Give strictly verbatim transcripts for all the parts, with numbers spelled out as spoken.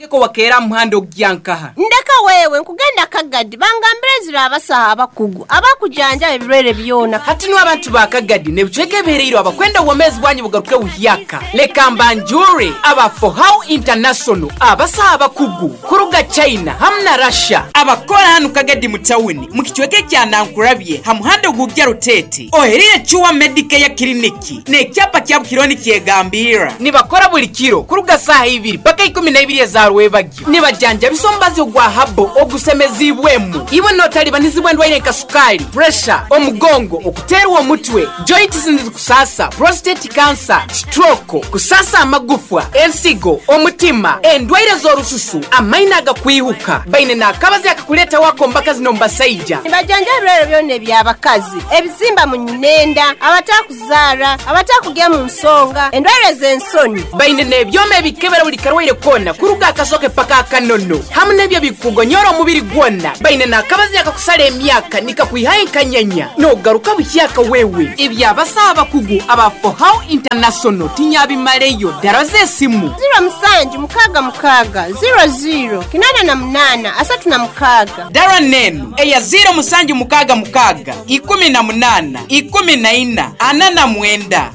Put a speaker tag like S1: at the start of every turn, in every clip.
S1: Ko wakeera muhanda ogyankaha.
S2: Ndeka wewe nkugenda Kagadi bangambire zira abasaha abakugu abakujanja ebirwere byona.
S1: Hati no abantu ba Kagadi nebicweka ebihereiro abakwenda obwomezi bwanyu bugaruke buhyaka. Leka mbanjure aba Fohow International abasaha abakugu kuruga China hamwe na Russia abakora hano Kagadi mu tawuni mu kicweka kya Nankurabye ha muhanda ogujya Rutete oherire Chuwa Medicare Clinic n'ekyapa kya Bukironi kyegambira nibakora buli kiro kuruga saha ibiri paka ikumi na ibiri za rwebagyo nibajanja bisombazi ogwa habo ogusemezibwemu iwe notalibanizibwa endwaire nka sukali, pressure, omugongo, okuterwa omutwe, joints kusasa, prostate cancer, stroke, kusasa amagufwa, ensigo, omutima, endwaire z'orususu, amaina agakwihuka baine n'akabazi akakuleta wako mbaka zino mbasaija.
S2: Nibajanja ebirwere byona eby'abakazi, ebizimba mu nyinenda, abatakuzaara, abatakugya mu nsonga, endwaire z'ensoni.
S1: Baine n'ebyoma ebikebera buli karwaire kona kuruga akasoke paka akanono hamwe n'ebyo bikugonyora omubiri gwona. Baine n'akabazi akakusala emyaka nikakwihayo enkanyanya n'ogaruka buhyaka wewe. Ebyabasaha abakugu aba Fohow International tinyabimaleyo dara z'esimu
S2: ziro musanju mukaga mukaga ziro ziro kinana na munana asatu na mukaga.
S1: Dara nenu eya ziro musanju mukaga mukaga ikumi na munana ikumi na ina ana na mwenda.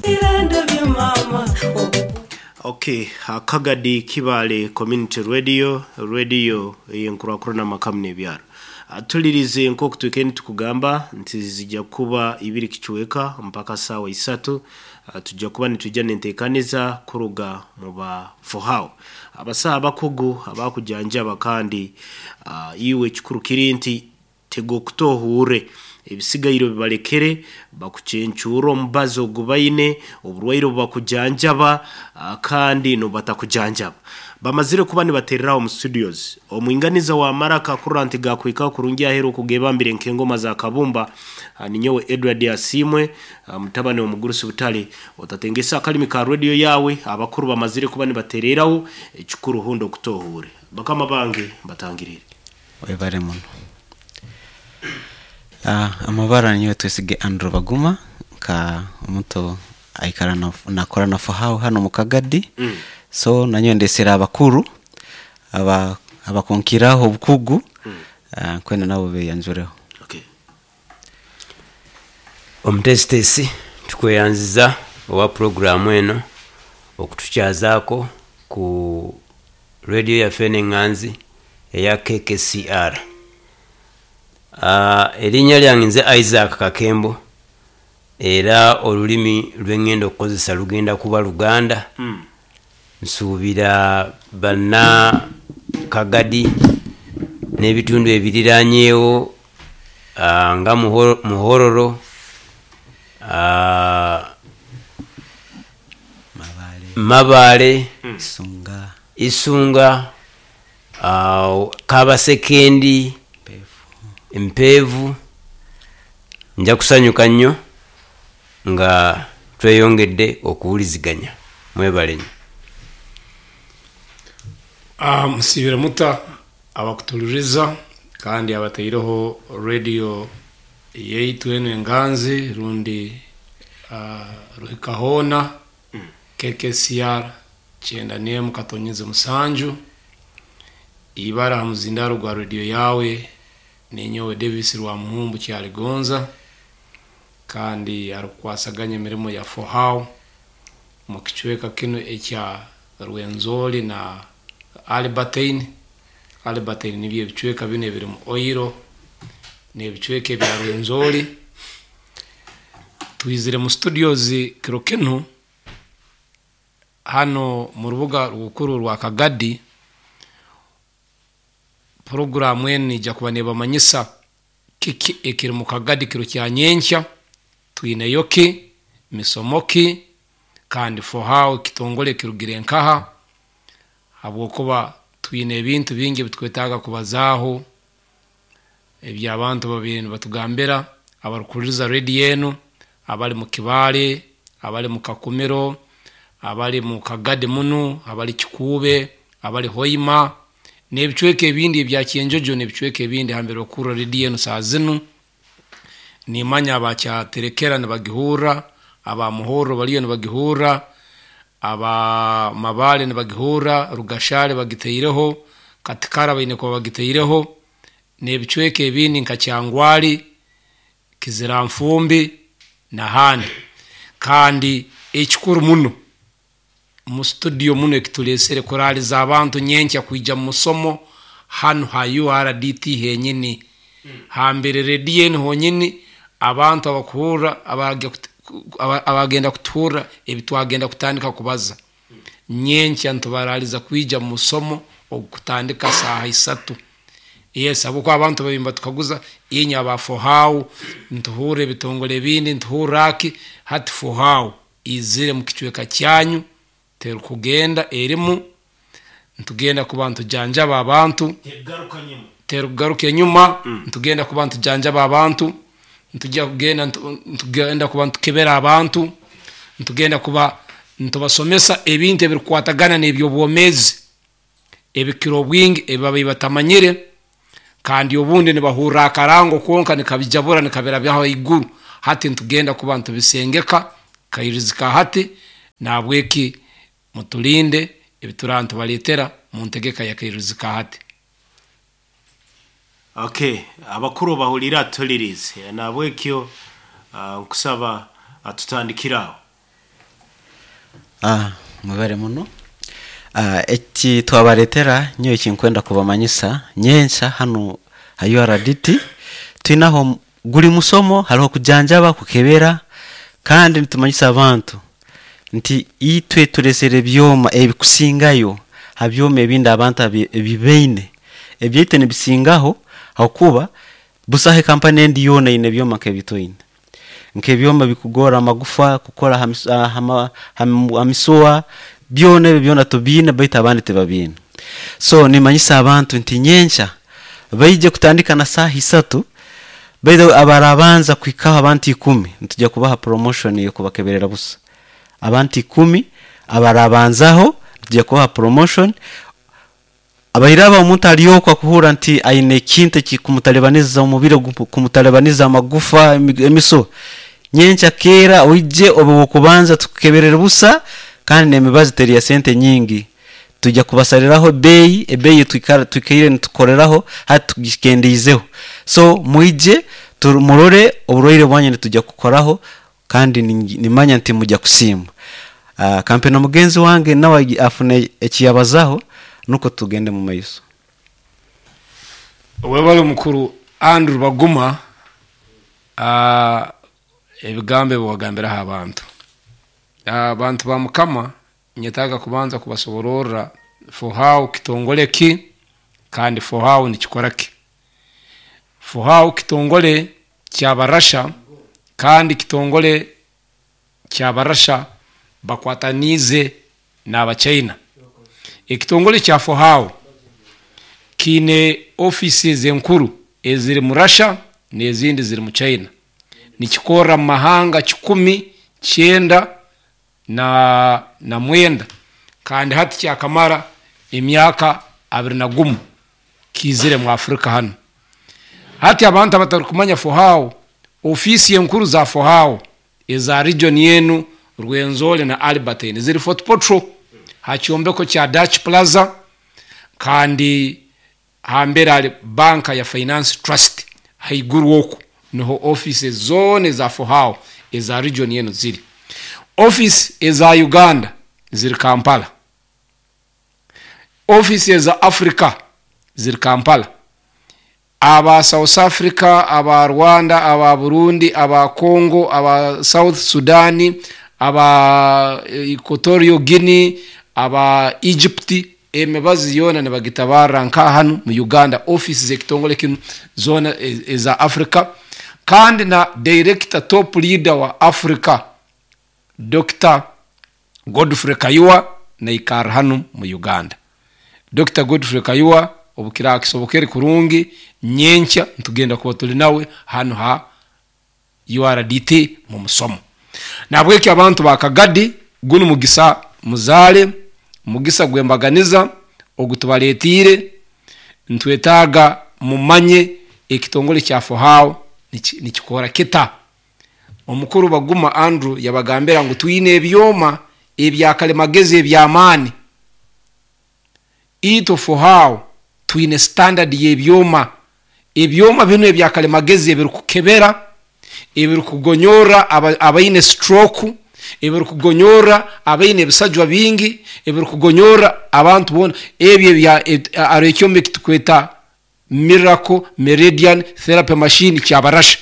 S3: Okay, Kagadi Kibale Community Radio, radio yenkurakura na makamu n'ebyaro. Atulirize nk'oku twikeni tukugamba nti zijja kuba ibiri kichweka mpaka sawa isatu. Tujja kuba nitujja nentekaniza kuruga mu ba Fohow. Abasaha abakugu abakujanjaba kandi uh, iwe kikuru kiri nti tego kutohure ebisigairo bibalekere bakucencura omubazo gubaine oburwaire bakujanjaba kandi no batakujanjaba. Bamazire kuba nibatereraho mu studios omwinganiza wa maraka kuranti gakwika kurungi ahero kugebambire nkengoma za kabumba. Ninyowe Edward Asimwe mutabane omugurusi butale otatengesa akalimi ka radio yawe. Abakuru bamazire kuba nibatereraho ekikuru hundo kutohure bakama bange batangirire
S4: webare muno. Ah, amabara niyo twesige Andrew Baguma ka omuntu aikara na nakora na Fohow hano mu Kagadi. Mm. So nanyo ndesera abakuru aba abakonkiraho obukugu. Mm. Uh, kwenda nabo beyanjureho.
S3: Okay.
S5: Omutesitesi tukweyanziza owa programu eno okutukyazaako ku radio yaffe n'enganzi eya K K C R. Uh, erinnya lyange nze Isaac Kakembo era olulimi lw'engendo okukozesa lugenda kuba Luganda. Mm. Nsuubira banna Kagadi n'ebitundu ebiriranyeewo uh, nga Muhororo, uh,
S4: Mabale,
S5: Mabale,
S4: mm. Isunga,
S5: Isunga, uh, Kabasekendi, Mpevu. Nja kusanyuka nnyo nga tweyongedde okuwuliziganya. Mwebale nnyo.
S6: Ah, musibire muta abakutuliriza kandi abataireho radio yaitu eno enganzi rundi uh, ruhikahona. Mm. K K C R kyenda n'emu katonyeze musanju ibara ha muzindaro gwa radio yawe ninyowe Davis rwa Muhumbu Kyaligonza kandi arukwasaganya emirimo ya Fohow mu kicweka kino ekya Rwenzori na Albertine. Albertine nibyo ebicweka bino ebiri mu Oiro n'ebicweka ebya Rwenzori. Twizire mu studios kiro kino hano mu rubuga rukuru rwa Kagadi. Programu eno ija kuba nebamanyisa kiki ekiri mu Kagadi kiro kya nyenkya, twineyo ki, misomo ki, kandi Fohow kitongole kirugire nkaha habwokuba twine ebintu bingi bitwetaaga kubazaaho eby'abantu babiri nibatugambira abarukuhuliriza radio eno, abali mu Kibale, abali mu Kakumiro, abali mu Kagadi munu, abali Kikuube, abali Hoima n'ebicweka ebindi ebya Kyenjojo n'ebicweka ebindi hambere okurra radio eno saa zinu. Nimanya abakyaterekera nibagihurra, abamuhorro baliyo nibagihurra, Aba Mabale nibagihurra, Rugashale bagiteireho, Katikara baine kuba bagiteireho, n'ebicweka ebindi nka Kyangwali, Kiziranfumbi n'ahandi. Kandi ekikuru muno mu studio muno ekitulesere kuraliza abantu nyenkya kwija mu musomo hanu ha U R D T henyini, hambere rediyo enu honyini, abantu abakuhurra, abagenda kutuhurra ebitwagenda kutandika kubaza. Nyenkya ntubaraliza kwija mu musomo ogutandika saaha isatu. Yes, abuko abantu babimba tukaguza inya aba Fohau ntuhure ebitongole ebindi ntuhurra aki hati Fohau izire mu kicweka kyanyu terukugenda erimu ntugenda kuba ntujanjaba abantu terugaruka enyuma, ntugenda kuba ntujanjaba abantu, ntujya kugenda ntugenda kuba ntukebera abantu, ntugenda kuba ntubasomesa ebintu ebirikwatagana n'ebyobwomezi ebikiro bwingi ebibabi batamanyire, kandi obundi nibahurra akarango konka nikabijabura nikabirabyaho iguru. Hati ntugenda kuba ntubisengeka kairizika hati nabweki mutulinde ebiturantu baletera mu ntegeka ya kairizika hati.
S3: Okay, abakuru bahulira tulirize nabwekyo uh, nkusaba atutandikiraho.
S4: Ah, mubare muno. Ah, eki twabaretera nyo ekinkwenda kubamanyisa nyensa hano ha U R D T twinaho guli musomo hariho kujanjaba kukebera, kandi nitumanyisa abantu nti itwe turesere byoma ebikusingayo ha byoma ebindi abantu ebibeine ebyete nibisingaho hakuba busahe kampani endi yona ine byoma nk'ebitoine nk'ebyoma bikugora amagufa kukora hamisuwa byona ebyo byona tubine baitu abandi tebabine. So nimanyisa abantu nti nyencha baije kutandika na saha isatu baitu abarabanza kwikaho abantu ikumi ntujya kubaha promotion yo kubakeberera busa. Abantu ikumi abarabanzaho ntujya kubaha promotion. Abairaba omuntu aliyokwa kuhura nti aine kintu kikumutalebaniza umubiri kumutalebaniza amagufa emiso nyencha kera oije obo kubanza tukeberera busa, kandi nemibazi teri ya sente nyingi tujya kubasaliraho bei ebeyi twikara twikire nitukoreraho hati tugikendizeho. So muije murore oburwaire bwanye tujya kukoraho kandi nimanya nti mujya kusima. Uh, kampeni mugenzi wange nawe afune ekiyabazaho nuko tugende mu maiso.
S6: Webale mukuru Andrew Baguma uh, ebigambo bwagambira abantu abantu ba Mukama nyetaga kubanza kubasoborora Fohau kitongole ki kandi Fohau nikikora ki. Fohau kitongole kyabarasha kandi kitongole kyabarasha bakwatanize n'abachina. Ekitongole kya Fohau kine offices enkuru eziri mu Russia n'ezindi ziri mu China. Nikikora mu mahanga kikumi kyenda na na mwenda, kandi hati kyakamara emyaka abiri na gumu kizire mu Afrika hano. Hati abantu abatari Fohau, ofisi enkuru za Fohau eza region yenu Rwenzori na Albertine ziri Fort Portal hakyombeko kya Dutch Plaza, kandi hambere ali banka ya Finance Trust haiguru oku niho offices zone za Fohau eza region yenu ziri. Office eza Uganda ziri Kampala, office eza Africa ziri Kampala, aba South Africa, aba Rwanda, aba Burundi, aba Congo, aba South Sudan, aba Equatorial Guinea, aba Egypt, emibazi yona nibagitabara nka hano mu Uganda office zekitongole kino zona eza Africa. Kandi na director top leader wa Africa Doctor Godfrey Kayua na ikara hano mu Uganda. Doctor Godfrey Kayua obukira kisobokere kurungi nyenkya ntugenda kuba tuli nawe hano ha U R D T mu musomo. Nabweki abantu bakagadi gunu mugisa muzale mugisa gwembaganiza ogutubaletire ntwetaga mumanye ekitongole kya Fohau nikikora kita. Omukuru Baguma Andrew yabagambira ngu twine ebyoma ebyakalimagezi ebyamaani. Itwe Fohawo twine standard y'ebyoma. Ebyoma binu ebyakalimagezi ebirukukebera, ebirukugonyora abaine stroke, ebirukugonyora abaine ebisajwa bingi, ebirukugonyora abantu boona. Ebyo ari ekyoma ekitukweta Miracle Meridian Therapy Machine kyabarasha.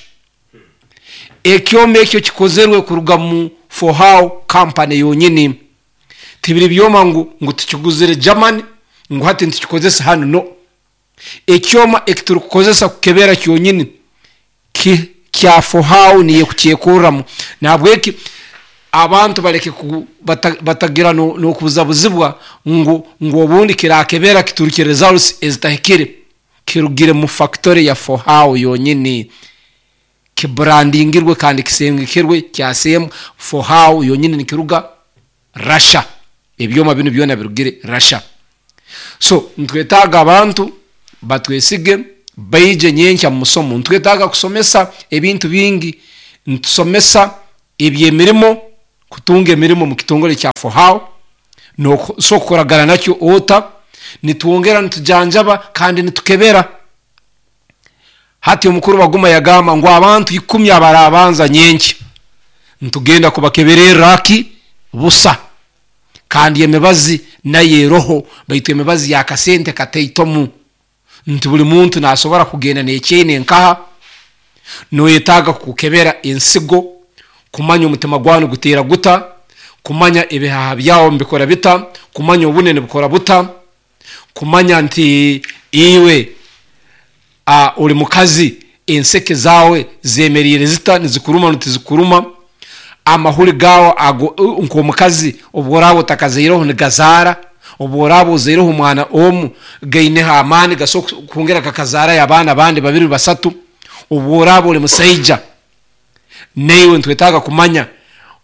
S6: Ekyoma ekyo kikozerwe kuruga mu Fohawo company yonyini. Tibiri byoma ngu ngu tukiguzire Germany ngu hati nitukikozesa hano, no. Ekyoma ekiturukukozesa kukebera kyonyini ki kya Fohawo niye kukyekurramu. Nahabweki abantu baleke batagira n'okubuzabuzibwa ngu ngu obundi kirakebera kiturukire results ezitahikire. Kirugire mu factory ya Fohawo yonyini, kibrandingirwe kandi kisengekirwe kyasemu Fohawo yonyini, nikiruga Russia. Ebyoma binu byona birugire Russia. So ntwetaaga abantu batwesige baije nyenkya mu musomo. Ntwetaaga kusomesa ebintu bingi. Ntusomesa ebyemirimo, kutunga emirimo mu kitongole kya Fohawo, so kukoragana nakyo ota, nitwongera nitujanjaba kandi nitukebera. Hati omukuru Baguma yagamba ngu abantu ikumi abarabanza nyenkya ntugenda kubakeberera ki busa, kandi emibazi naye roho, baitu emibazi ya kasente kataitomu, nti buli muntu nasobora kugenda nekyene nkaha. Noyetaaga kukebera ensigo, kumanya omutima gwawe gutera guta, kumanya ebihaha byawe mbikora bita, kumanya obunene bukora buta, kumanya nti iwe a uri mukazi enseke zawe zemerire zita, nizikuruma ntizikuruma, amahuri gawe ago nko mukazi obworabo utakazeireho nigazara, obworabo uzeireho omwana omu gaineho amaani gaso kongera kakazara y'abaana bandi babiri basatu. Obworabo uri musaija naiwe ntwetaaga kumanya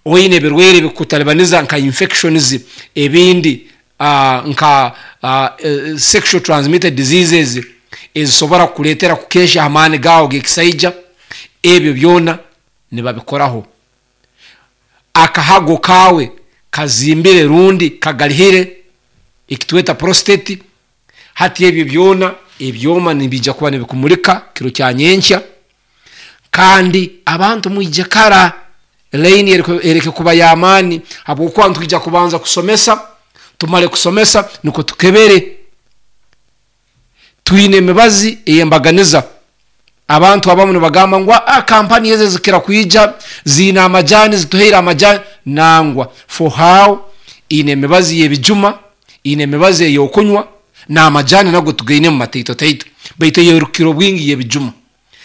S6: oine ebirwaire ebikutalibaniza nka infections, ebindi uh, nka uh, sexual transmitted diseases ezisobora kukuleetera kukesha amaani gawe g'ekisaija. Ebyo byona nibabikoraho. Akahago kawe kazimbire rundi kagalihire, ekitweta prostate. Hati ebyo byona ebyoma nibijja kuba nibikumulika kiro kya nyenkya. Kandi abantu mwije kara, laini ereke kuba y'amaani, habwokuba ntwija kubanza kusomesa, tumale kusomesa niko tukebere. Twine emibazi eyembaganiza. Abantu abamu nibagamba ngu ah, kampani eze zikira kwija ziina amajani, zituheire amajani. Nangwa, Fohawo ine emibazi y'ebijuma, ine emibazi ey'okunywa, n'amajani nago tugaine mu mataito taito, baitu eyerukiro bwingi y'ebijuma.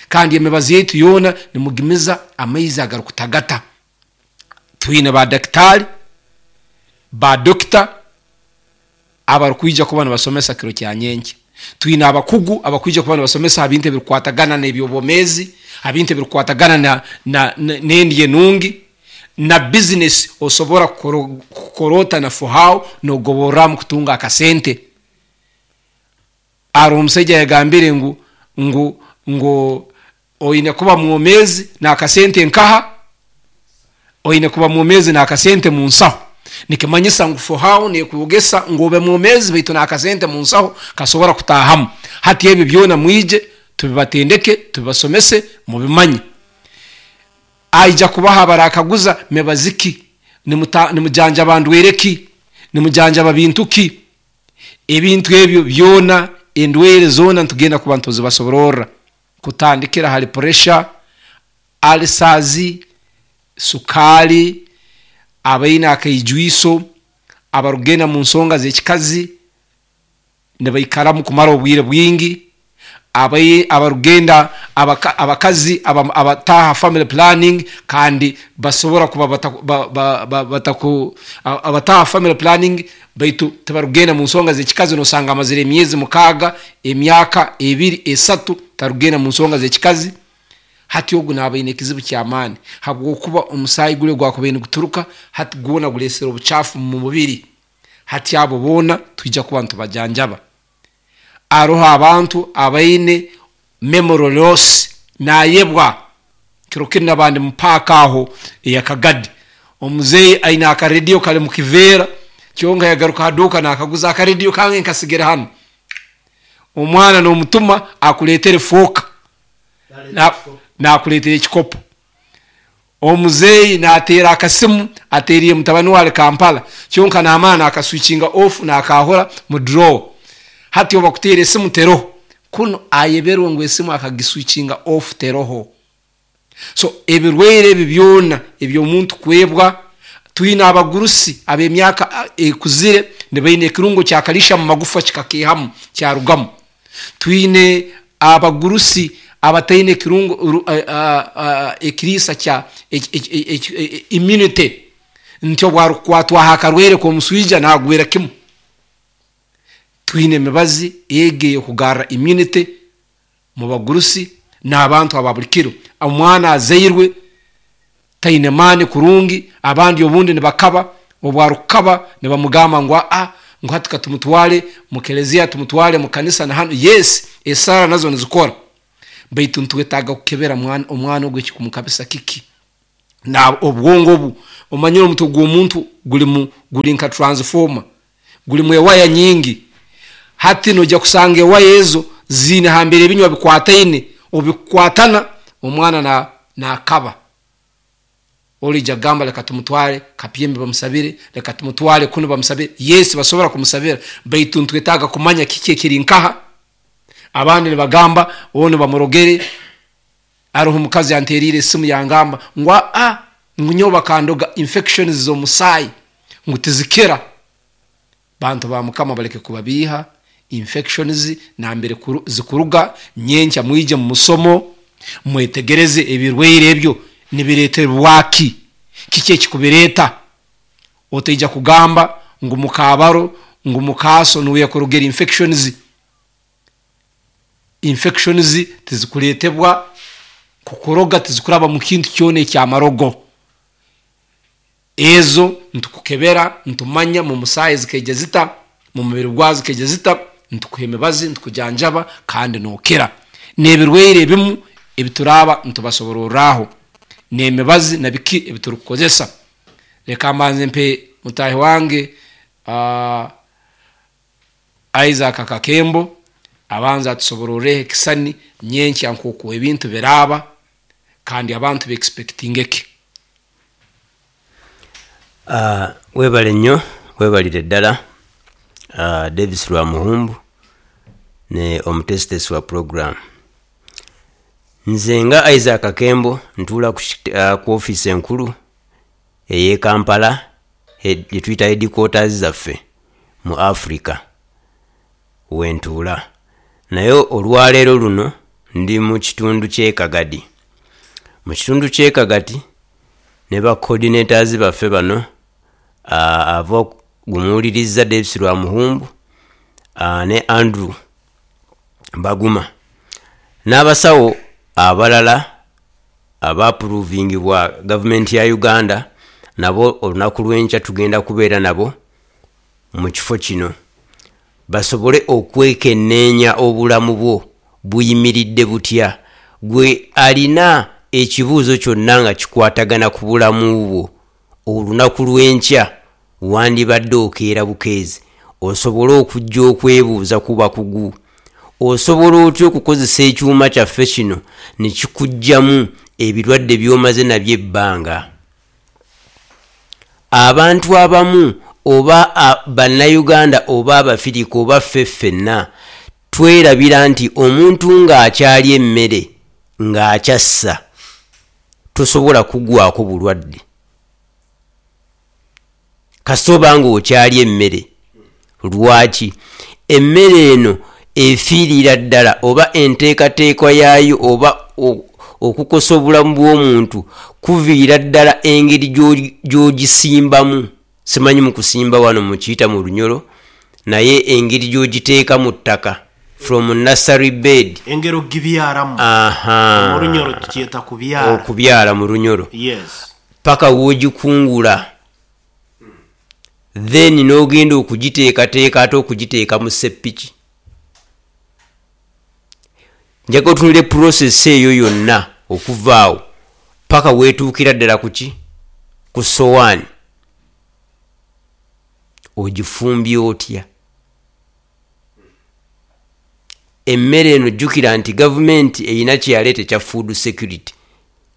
S6: Kandi emibazi yaitu yoona nimugimiza amaizi agarukutagata. Twine ba daktari, ba dokita abarukwija kuba nibasomesa kiro kya nyenkya. Twine abakugu abakwija kuba nibasomesa ebintu ebirukwatagana n'ebyobwomeezi, ebintu ebirukwatagana na, na, n'endya enungi na business osobora kukorota na Fohawo nogoborramu kutunga akasente. Ari omusaija yagambire ngu ngu ngu oine kuba mwomezi n'akasente nkaha, oine kuba mwomezi n'akasente mu nsaho. Nikimanyisa ngu Fohawo nekwogesa ngu obe mwomezi baitu n'akasente mu nsaho kasobora kutahamu. Hati ebyo byona mwije tubibatendeke, tubibasomese, mubimanye. Aija kubaha abarakaguza mebaziki, nimujanja bandwereki, nimujanja babintuki. Ebintu ebyo byona, endwere zona ntugenda kuba ntuzibasoborora, kutandikira hali pressure, alisazi, sukali, abaine akaijwiso, abarugenda mu nsonga z'ekikazi nibaikaramu kumara obwire bwingi, abaye abarugenda abaka, abakazi abataha family planning kandi basobora kuba bataku, ba, ba, ba, bataku, abataha family planning baitu tibarugenda mu nsonga z'ekikazi. Nosanga amazire emyezi mukaaga, emyaka ebiri, esatu tarugenda mu nsonga z'ekikazi. Hati ogu nabaine ekizibu ky'amaani, habwokuba omusaayi gule gwakubaire niguturuka hati gwona gulesera obucafu mu mubiri. Hati abo boona twija kuba nitubajanjaba. Aroho abantu abaine memory loss, nayebwa. Kiro kiri nabandi mupaaka aho eyakagadi, Omuzeeyi aine akarediyo kali mu kiveera, kyonka yagaruka haduuka nakaguza akarediyo kange nkasigire hano. Omwana n'omutuma akuleetere fooka, nakuleetera ekikopo. Omuzeeyi nateera akasimu ateeriire mutabani we ali Kampala, kyonka namara nakaswitchinga off nakahura mu drawer. Hati obu bakuteera esimu teroho, kunu ayeberwe ngu esimu akagiswitchinga off teroho. So ebirwaire ebi byona eby'omuntu kwebwa, twine abagurusi ab'emyaka ekuzire nibaine ekirungo kya kalisha mu magufa kikakehamu kyarugamu. Twine abagurusi abataine ekirungo ekiriisa kya immunity, nti obu arukukwatwaho akarwaire k'omuswija nagwera kimu. Twine emibazi egi ey'okugarra immunity mu bagurusi n'abantu aba buli kiro. Omwana azairwe taine maani kurungi, abandi obundi nibakaba, obu arukukaba nibamugamba ngu aa ngu hati katumutwale mu keleziya, tumutwale mu kanisa na hano. Yes, esaara nazo nizikora, baitu nitwetaaga kukebera omwana ogu ekikumukabisa kiki. Na obwongo obu omanyire omutwe gw'omuntu gulimu guli nka transformer, gulimu ewaya nyingi. Hati nojja kusanga ewaya ezo ziine hambere ebinywa bikwataine, obikukwatana omwana nakaba. Olija gamba leka tumutwale Kapyembe bamusabire, leka tumutwale kuno bamusabire. Yes, basobora kumusabira, baitu ntwetaaga kumanya kiki ekiri nkaha. Abandi nibagamba ono bamurogere. Aroho omukazi anteriire esimu yangamba ngu a ngu nyowe bakandoga infections z'omusaayi ngu tizikira. Bantu ba Mukama baleke kubabiiha, infections nambere zikuruga. Nyenkya mwije mu musomo mwetegereze ebirwaire ebyo nibireetebwaki, kiki ekikubireeta. Otaija kugamba ngu mukabaro ngu mukaaso nuwe yakurogera infections. Infections tizikuleetebwa kukuroga, tizikuraba mu kintu kyona ekyamarogo. Ezo ntukukebera, ntumanya mu musaayi zikaija zita, mu mubiri gwazo zikaija zita, ntukuha emibazi, ntukujanjaba kandi nookira. N'ebirwaire ebimu ebituraaba ntubasobororraho n'emibazi na biki ebiturukukozesa. Leka mbanze mpe mutaahi wange uh, Isaac Kakembo abanza atusobororreho ekisani nyenkya nk'oku ebintu biraaba kandi abantu beexpectinge eki.
S5: Uh, webale nnyo, webalire ddala uh, Davis Lwamuhumbu ne omutesitesi wa program. Nze nga Isaac Kakembo ntuula ku, uh, ku ofiisi enkulu ey'e Kampala gye tuyita headquarters zaffe mu Africa wentuula. Naye olwaleero luno ndi mu kitundu ky'e Kagadi. Mu kitundu ky'e Kagadi ne ba coordinators baffe bano uh, ava gumuwulirizza Davis Lwamuhumbu uh, ne Andrew Baguma n'abasawo abalala abaapuruvingibwa gavumenti ya Uganda, nabo olunaku lw'enkya tugenda kubeera nabo mu kifo kino basobole okwekenneenya obulamu bwo buyimiridde butya. Gwe alina ekibuuzo kyonna nga kikwatagana ku bulamu bwo, olunaku lw'enkya wandibadde okeera bukeezi osobole okujja okwebuuza ku bakugu. Osobola otya okukozesa ekyuma kyaffe kino ne kikuggyamu ebirwadde by'omaze nabyo ebbanga? Abantu abamu oba bannayuganda oba abafirika oba ffe ffenna twerabira nti omuntu ng'akyalya emmere ng'akyassa tosobola kugwako bulwadde. Kasita oba ng'okyalya emmere. Lwaki? Emmere eno efiirira ddala oba enteekateeka yaayo oba okukosa obulamu bw'omuntu kuviira ddala engeri gy'ogisimbamu. Simanyi mu kusimba wano mukiyita mu lunyolo, naye engeri gy'ogiteeka mu ttaka from nursery bed,
S3: engeri ogibyaramu.
S5: Aha,
S3: mu lunyolo tukyeta kubyara,
S5: okubyara mu lunyolo.
S3: Yes,
S5: paka w'ogikungula, then n'ogenda okugiteekateeka ate okugiteeka mu seppiki. Njagala otunule process eyo yonna okuvaawo paka weetuukira ddala ku ki? Ku sowaani ogifumbye otya emmere eno? Jjukira nti gavumenti erina kyeyaleeta ekya food security.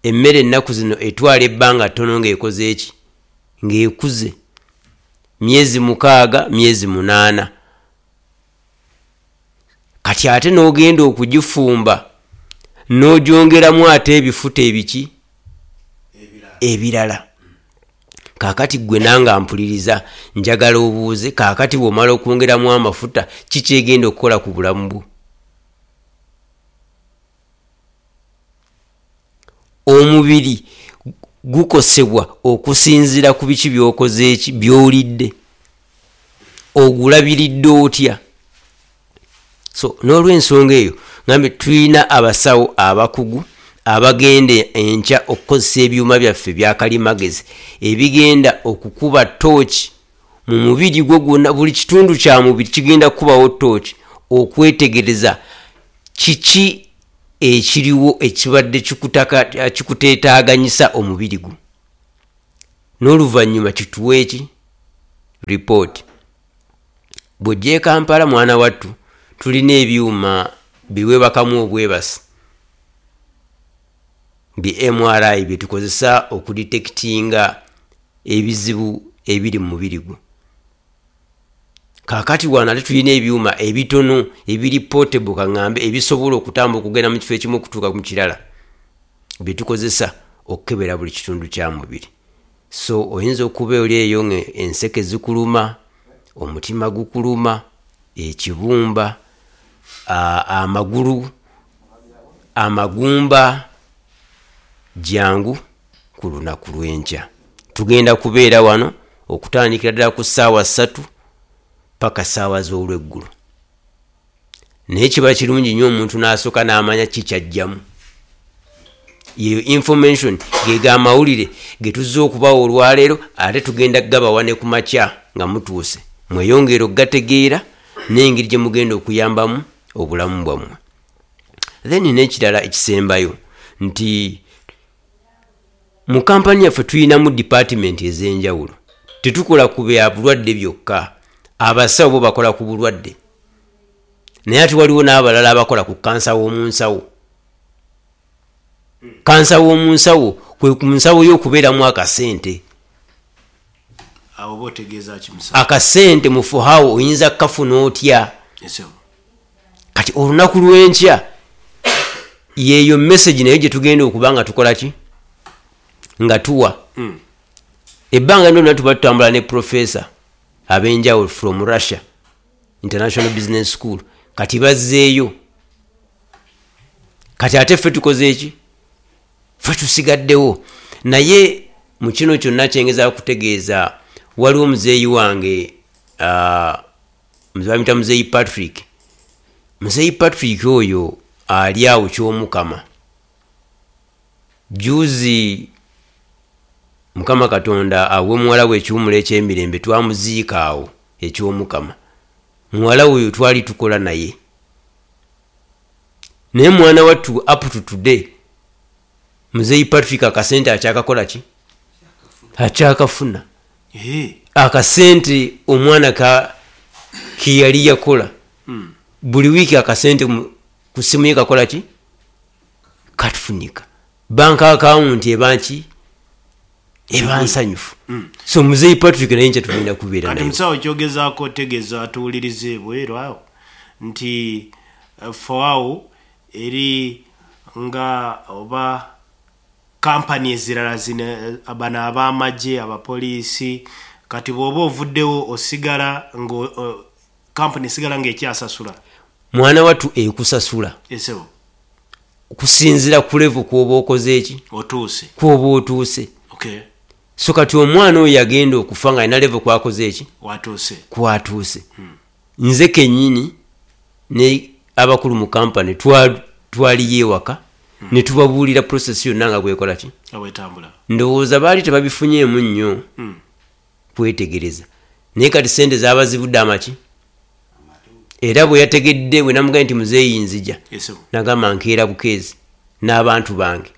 S5: Emmere ennaku zino etwala ebbanga ttono ng'ekoze eki, ng'ekuze myezi mukaaga, myezi munaana. Kati ate n'ogenda okugifumba n'ogyongeramu ate ebifuta ebiki ebirala. Kaakati gwe nange ampuliriza, njagala obuuze, kaakati bw'omala okwongeramu amafuta, kikyegenda okukola ku bulamu bwo? Omubiri gukosebwa okusinziira ku biki by'okoze eki, by'olidde, ogulabiridde otya. So n'olwensonga eyo ngambe tulina abasawo abakugu abagenda enkya okukozesa ebyuma byaffe byakalimagezi ebigenda okukuba tooki mu mubiri gwo gwonna. Buli kitundu kya mubiri kigenda kukubawo tooki okwetegereza kiki ekiriwo ekibadde kikuteetaaganyisa omubiri gwo, n'oluvannyuma kituwe eki ripooti. Bw'ojja e Kampala, mwana wattu, tulina ebyuma biwebakamu obwebasi bi M R I bye tukozesa okudetekitinga ebizibu ebiri mu mubiri gwo. Kaakati wano ate tulina ebyuma ebitono ebiri portable, kaŋŋambe ebisobola okutambula okugenda mu kifo ekimu okutuuka mu kirala, bye tukozesa okukebera buli kitundu kya mubiri. So oyinza okuba oli eyo ng'enseke zikuluma, omutima gukuluma, ekibumba, amagulu, amagumba, jangu ku lunaku lw'enkya. Tugenda kubeera wano okutandikira ddala ku ssaawa ssatu paka ssaawa z'olweggulo. Naye kiba kirungi nnyo omuntu n'asooka n'amanya ki ky'ajjamu. Yeyo information, ge amawulire ge tuzze okubawa olwaleero, ate tugenda kugabawa ne ku makya nga mutuuse. Mweyongere okugategeera n'engeri gye mugenda okuyambamu obulamu bwammwe. Then n'ekirala ekisembayo nti mu kampani yaffe tulinamu department ez'enjawulo. Tetukola ku bya bulwadde byokka, abasawo bo bakola ku bulwadde, naye ate waliwo n'abalala abakola ku kansa w'omu nsawo. Kansa w'omu nsawo kwe ku nsawo y'okubeeramu akasente.
S3: Awo oba otegeeza ki, musawo?
S5: Akasente mu fuhawo oyinza kukafuna otya? Kati olunaku lw'enkya yeeyo message nayo gye tugenda okuba nga tukola ki, nga tuwa.
S3: Mm.
S5: Ebbanga lyonna tuba tutambula ne professor ab'enjawulo from Russia International Business School. Kati bazzeeyo, kati ate ffe tukoze eki, ffe tusigaddewo. Naye mu kino kyonna kyengezaako kutegeeza, waliwo muzeeyi wange, uh, bamuyita muzeeyi Patrick. Muzeeyi Patrick oyo ali awo ky'Omukama. Juzi Mukama Katonda awe muwala we ekiwummulo eky'emirembe, twamuziika awo eky'Omukama. Muwala oyo twali tukola naye, naye mwana wattu up to today muzeeyi Patrick akasente akyakakola ki, akyakafuna. Akasente omwana ka keyali yakola
S3: mm.
S5: buli wiiki akasente ku ssimu ye kakola ki, katufunika. Bank account ebanki eba nsanyufu.
S3: Mm.
S5: So muzeeyi Patrick naye nkya tugenda kubeera
S3: naye.
S5: Kati
S3: musawo kyogezaako otegeeza tuwulirize ebweru awo nti uh, FOAU eri nga oba kampani ezirala zino, bano ab'amagye, abapoliisi, kati bw'oba ovuddewo osigala nga uh, kampani esigala ng'ekyasasula.
S5: Mwana wattu ekusasula
S3: esebo
S5: kusinziira ku level kw'oba okoze eki,
S3: otuuse
S5: kw'oba otuuse.
S3: Okay.
S5: So kati omwana oyo yagenda okufa nga alina level kwakoze eki,
S3: watuuse
S5: kwatuuse.
S3: Hmm.
S5: Nze kennyini ne abakulu mu kampani twaliyo ewaka,
S3: hmm.
S5: ne tubabuulira process yonna nga bwekola ki,
S3: bwetambula.
S5: Ndowooza baali tebabifunyeemu nnyo
S3: hmm.
S5: kwetegereza, naye kati sente zaabazibudde amaki. Era bwe yategedde bwe namugambye nti muzeeyi nzija, nagamba nkeera bukeezi n'abantu bange.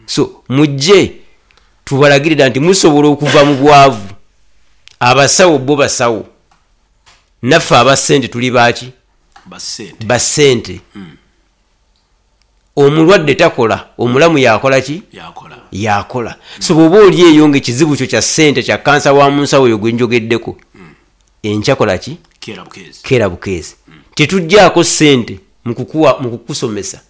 S5: So mujje Tubalagirira nti musobola okuva mu bwavu. Abasawo bo basawo, naffe abasente tuli baki?
S3: Basente.
S5: Basente. Omulwadde takola, omulamu yakola ki?
S3: Yakola.
S5: Yakola. So bw'oba oli eyo nga ekizibu kyo kya ssente, kya kansa wa mu nsawo eyo gwe njogeddeko, enkya kola ki?
S3: Keera bukeezi.
S5: Keera bukeezi. Tetuggyako ssente mu kukuwa, mu kukusomesa.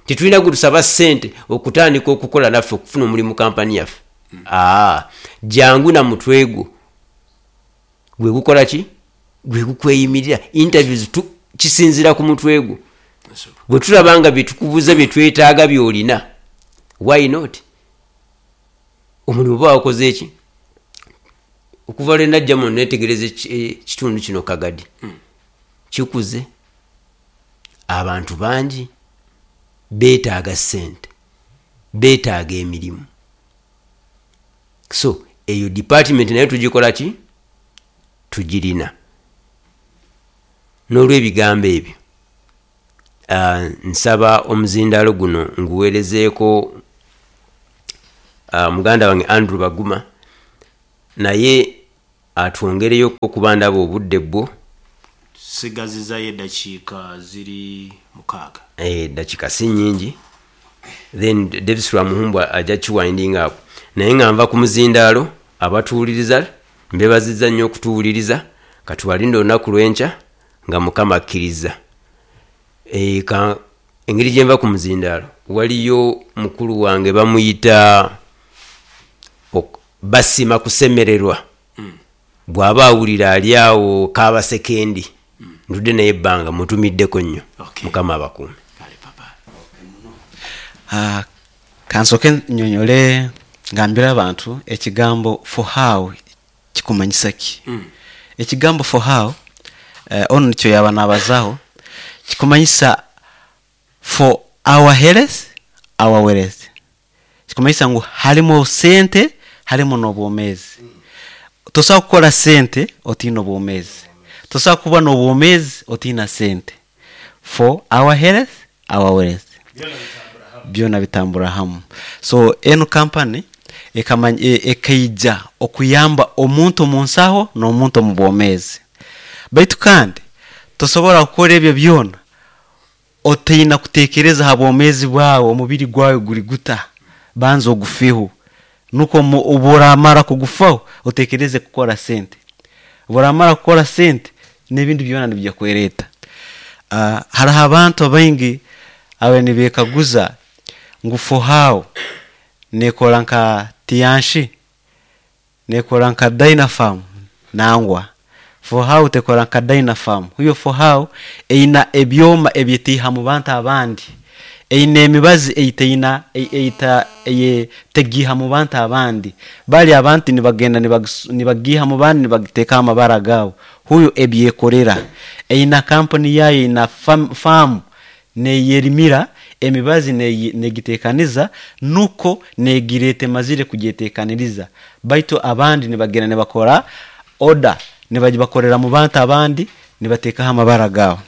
S5: Tetulina gwe tusaba ssente okutandika okukola naffe, okufuna omulimu kampani yaffe. Aa, jangu na mutwe gwo gwe gukola ki? Gwe gukweyimirira. Interviews tu, kisinziira ku mutwe gwo. Bwe tulaba nga bye tukubuuza bye twetaaga by'olina, why not? Omulimu oba wakoze eki? Okuva lwe najja muno neetegereza ekitundu kino Kagadi kikuze, abantu bangi beetaaga ssente, beetaaga emirimu. So eyo department nayo tugikola ki? Tugirina. N'olw'ebigambo ebyo, uh, nsaba omuzindaalo guno nguweerezeeko uh, muganda wange Andrew Baguma, naye atwongereyo okuba ndaba obudde bwo.
S3: Sigazizayo eddakiika ziri mukaaga.
S5: Eddakiika si nnyingi. Then Davis Lwamuhumbwa ajja kiwinding up. Naye nga nva ku muzindaalo, abatuwuliriza mbeebazizza nnyo okutuwuliriza. Katubalinde olunaku lw'enkya nga Mukama akkiriza. E, engeri gye nva ku muzindaalo, waliyo mukulu wange bamuyita Basima Kusemererwa. Mm. Bw'aba awulira ali awo Kabasekendi, mm. ntudde naye ebbanga, mutumiddeko nnyo.
S3: Okay.
S5: Mukama abakuume.
S4: Uh, kansooke nnyonnyole ngambire abantu ekigambo for how kikumanyisa ki. Mm. Ekigambo for how uh, ono nikyo yaba nabazaho, kikumanyisa for our health, our wealth. Kikumanyisa ngu harimu sente, harimu n'obwomeezi. Mm. Tosobola kukora sente otiina obwomeezi, tosobola kuba n'obwomeezi otiina sente. For our health, our wealth, byona bitambura hamu. So eno kampani ekaija okuyamba omuntu omu nsaho n'omuntu omu bwomeezi. Baitu kandi tosobola kukora ebyo byona otiina kutekereza ha bwomeezi bwawe, omubiri gwawe guri guta, banza ogufeho. Nuko oburamara kugufaho otekereze kukora sente. Oburamara kukora sente n'ebindi byona nibijya kwereta. Uh, hariho abantu abaingi abe nibekaguza ngu for how nekora nka Tianshi, nekora nka Dynapharm. Nangwa for how tekora nka Dynapharm. Huyo for how eina ebyoma ebyetiha mu bantu abandi, eine emibazi eiteina eita eyetegiha mu bantu abandi. Bali abantu nibagenda nibagiha mu bandi nibagiteka amabara gabo. Huyo ebyekorera eina kampani yayo, ina farm, farm neyerimira emibazi negitekaniza, nuko negirete mazire kujetekaniriza. Baitu abandi nibagenda nibakora order, nibagibakorera mu bantu abandi nibatekaho amabara gabo.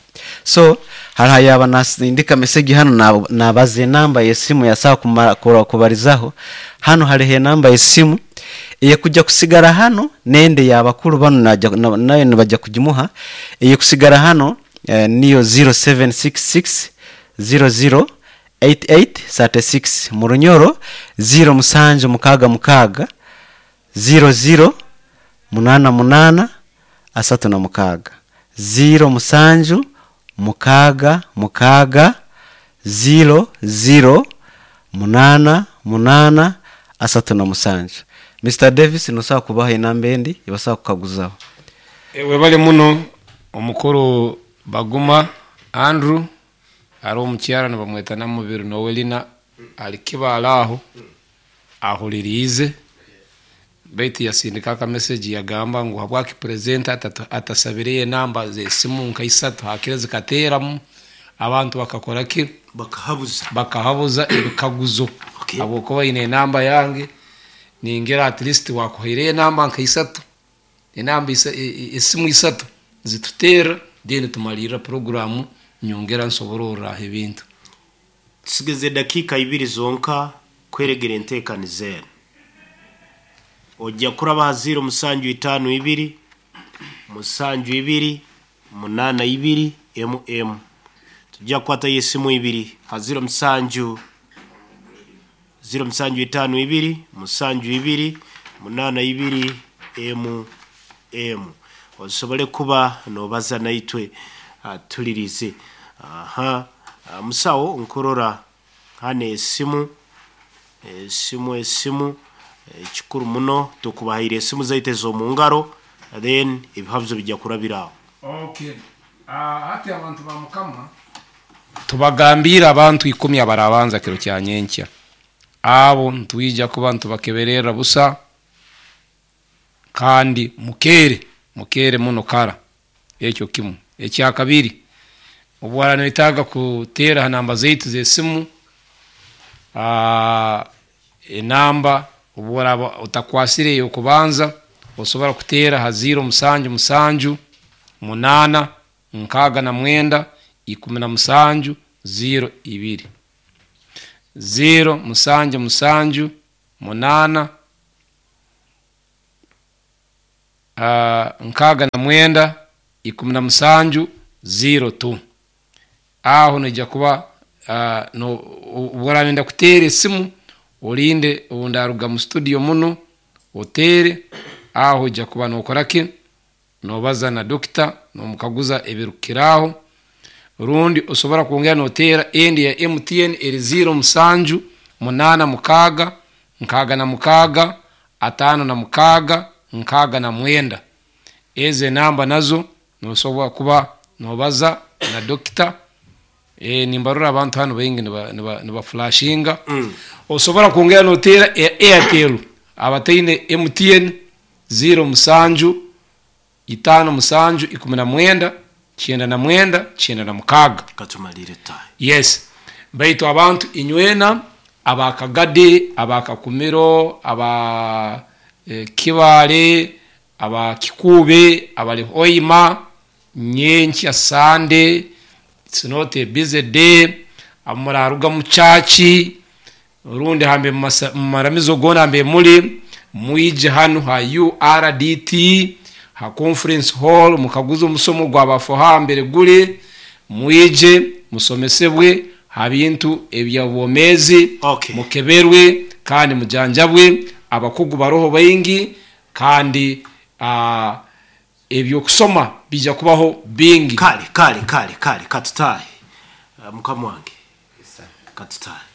S4: So hariho yaba nasindika message hano nabaze namba y'esimu yasawa kubarizaho. Hano hariho enamba y'esimu eyekujja kusigara hano, nende y'abakuru bano nayo nibajja kugimuha. Eyekusigara hano eh, niyo zero seven six six zero zero eight eight thirty six, mu Runyoro zero musanju mukaga mukaga zero zero munana munana asatu na mukaga, zero musanju mukaga mukaga zero zero munana munana asatu na musanju. Mister Davis nosawa kubaha enamba endi ibasawa kukaguzaho.
S6: Ewe bali muno omukuru Baguma Andrew ari omukyara nibamweta Namubiri Noelina, ali Kibaale aho ahuliriize, baitu yasindika aka message yagamba ngu habwaki presenter atasabiriye enamba z'esimu nka isatu hakire zikateeramu abantu bakakora ki?
S3: Bakahabuza.
S6: Bakahabuza ebikaguzo.
S3: Okay.
S6: Habwokuba ine enamba yange ningira at least wakuhaire enamba nka isatu, enamba esimu isatu zituteera, then tumalirira programu nyongera nsoborora ebintu.
S3: Tusigeze dakika ibiri zonka kweregera enteekaniza eno. Ojja kuraba ha ziro musanju itaano ibiri musanju ibiri munaana ibiri emu emu. Tujja kukwatayo esimu ibiri ha ziro musanju ziro musanju itaano ibiri musanju ibiri munaana ibiri emu emu, osobole kuba nobaza naitwe. Tulirize. Aha, musawo, nkurora hano esimu esimu esimu ekikuru muno tukubahaire esimu zaitu ez'omu ngaro, then ebihabuzo bijja kurabiraho.
S6: Okay, hati abantu ba Mukama, tubagambire abantu ikumi abarabanza kiro kya nyenkya, abo ntwija kuba ntubakeberera busa, kandi mukere mukere muno kara. Ekyo kimu. Ekyakabiri, obwara noetaaga kuteera ha namba zaitu z'esimu, enamba obworaba otakwasire ey'okubanza, osobola kuteera ha ziro musanju musanju munaana nkaaga na mwenda ikumi na musanju ziro ibiri, ziro musanju musanju munaana nkaaga na mwenda ikumi na musanju ziro tu. Aho noija kuba obworaba kuteera esimu, olinde obundaruga mu studio muno oteere. Aho ojja kuba nokora ki? Nobaza na dokita, nomukaguza ebirukukiraho. Rundi osobora kwongera noteera endi ya M T N eri ziro musanju munaana mukaaga nkaaga na mukaaga ataano na mukaaga nkaaga na mwenda. Ezo enamba nazo nosobora kuba nobaza na dokita. e, nimbarora abantu hano baingi nibaflashinga. mm. Osobora kwongera noteera Airtel, abataine M T N, ziro musanju itaano musanju ikumi na mwenda kyenda na mwenda kyenda na mukaaga.
S3: Katumalire tayi.
S6: Yes, baitu abantu inywena abakagade, abakakumiro, aba e, Kibale, aba Kikube, abali Hoima, nyenkya Sunday, it's not a busy day. Amuraruga mu chachi rundi hambe mu maramizo gona hambe muli, mwije hano ha U R D T ha conference hall, mukaguza omusomo gwabafoha mbere guli. Mwije musomesebwe ha bintu ebyabwomezi.
S3: Okay.
S6: Mukeberwe kandi mujanjabwe, abakugu baroho baingi, kandi uh, ebyokusoma bijja kubaho bingi.
S3: Kale kale kale kale, katutahe. uh, mukama wange, katutahe.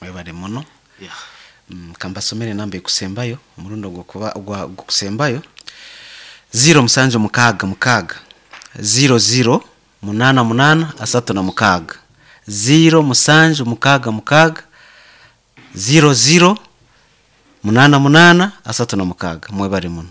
S4: Mwebale muno.
S3: yeah.
S4: Mm, kambasomere enamba ekusembayo, omurundi ogwokuba ogwa- ogwokusembayo: ziro musanju mukaaga mukaaga ziro ziro munaana munaana asatu na mukaaga, ziro musanju mukaaga mukaaga ziro ziro munaana munaana asatu na mukaaga. Mwebale muno.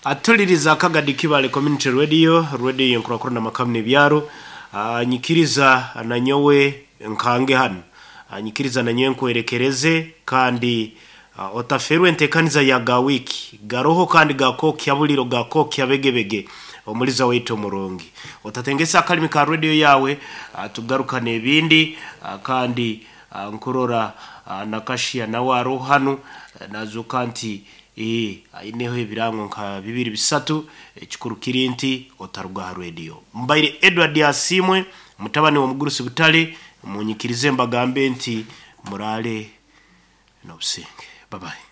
S3: Atuliriza Akagadi Kibale Community Radio, radio yenkurakurana makamu n'ebyaro. Ah, nyikiriza nanyowe nkange hano. Ah, nyikiriza nanyowe nkwerekereze, kandi ah, otaferwe entekaniza ya gawiki garoho kandi gakokya buliro, gakokya begebege. Omuliza waitu omurungi, otatengesa akalimi ka radio yawe. ah, tugarukane ebindi. ah, kandi ah, nkurora ah, nakashia nawe aroho hano, eh, nazuka nti ee aineho ebirango nka bibiri bisatu. Ekikuru kiri nti otaruga ha radio. Mbaire Edward Asimwe, mutabani wa Mugurusi Butale. Munyikirize mbagambe nti murale n'obusinge. Bye bye.